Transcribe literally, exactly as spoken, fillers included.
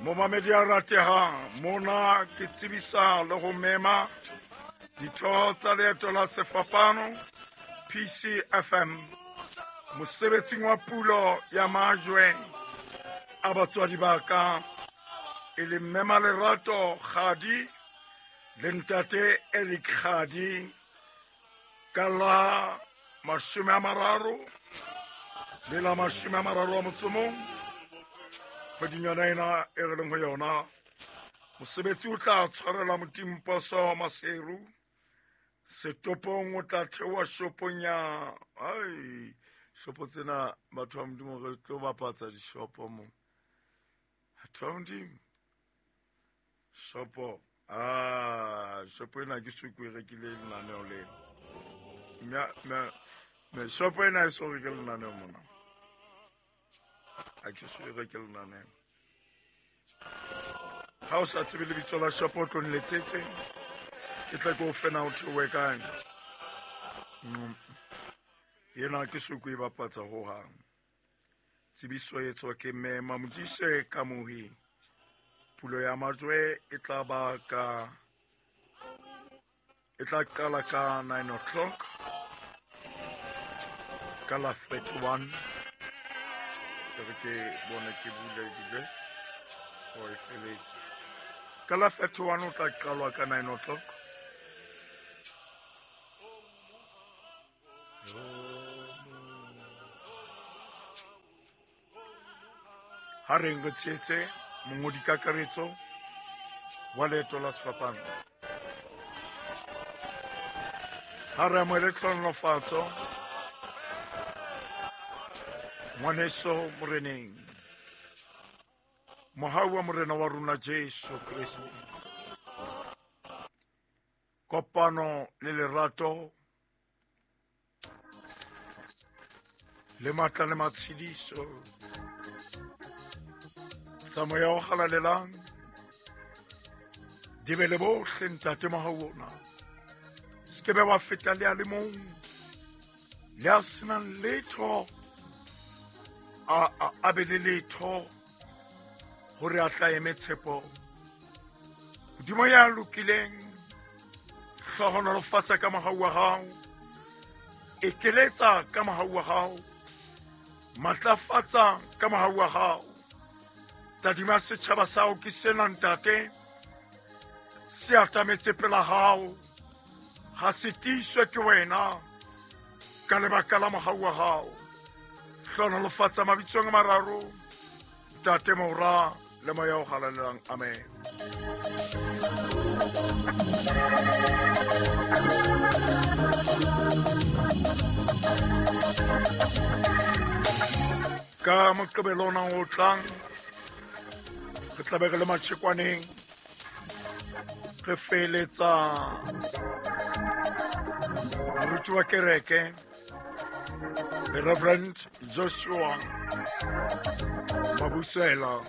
Momamedi a ratehang, mona ke tsebisa le ho mema ditho tsa Leeto la Sefapano P C F M mosebetsing wa pulo ya majwe a batswadi ba ka, e leng Mme Malerato Kgadi le Ntate Eric Kgadi, ka la mashome a mararo le la mashome a mararo a motso mong kgweding yona ena e re leng ho yona. Mosebetsi o tla tshwarelwa Motimposo Maseru, setopong o tla theoha shopong ya ai shopo tsena batho ba Modimo re tlo bapatsa dishopo mo. Batho ba Modimo shopo ah shopo ena ke suku e rekile lenaneo lena. Mme mme mme shopo ena e so reke lenaneo mona. Ha ke so e reke lenaneo. Ha o sa tsebe lebitso la shopo o tlo nletsetse, ke tla ke o fe na o theohe kae. Mm. Ena ke suku e bapatsa hohang. Tsebiso e tswa ke Mme Mamodise Kamohi. Pulo ya majwe e tla ba ka e tla qala ka nine o'clock ka la thirty-one. Ke re ke bone ke bule ebile o e feletse. Ka la thirty-one o tla qalwa ka nine o'clock. Ha re re tshetse mongodi kakaretso wa Leeto la Sefapano. Ha re amohele tlhonolofatso ngwaneso moreneng, mohau wa morena wa rona Jesu Kreste, kopano le lerato le matla le matshediso tsa moya o halalelang di be le bohle ntate mohau ona. Se ke be wa feta le a le mong le a senang letho a, a, a be le letho hore a tla eme tshepo. Modimo ya lokileng, hlohonolofatsa ka mohau wa hao, ekeletsa ka mohau wa hao, matlafatsa ka mohau wa hao. Tadima setjhaba sa hao ke sena ntate, se atametse pela hao, ha se tiiswe ke wena ka lebaka la mohau wa hao. Hlohonolofatsa mabitsong a mararo, Ntate, Mora le Moya o Halalelang. Amen. Ka Moqebelo ona o tlang re tla be re le matjhekwaneng, re feletsa moruti wa kereke the Reverend Joshua Mabusela.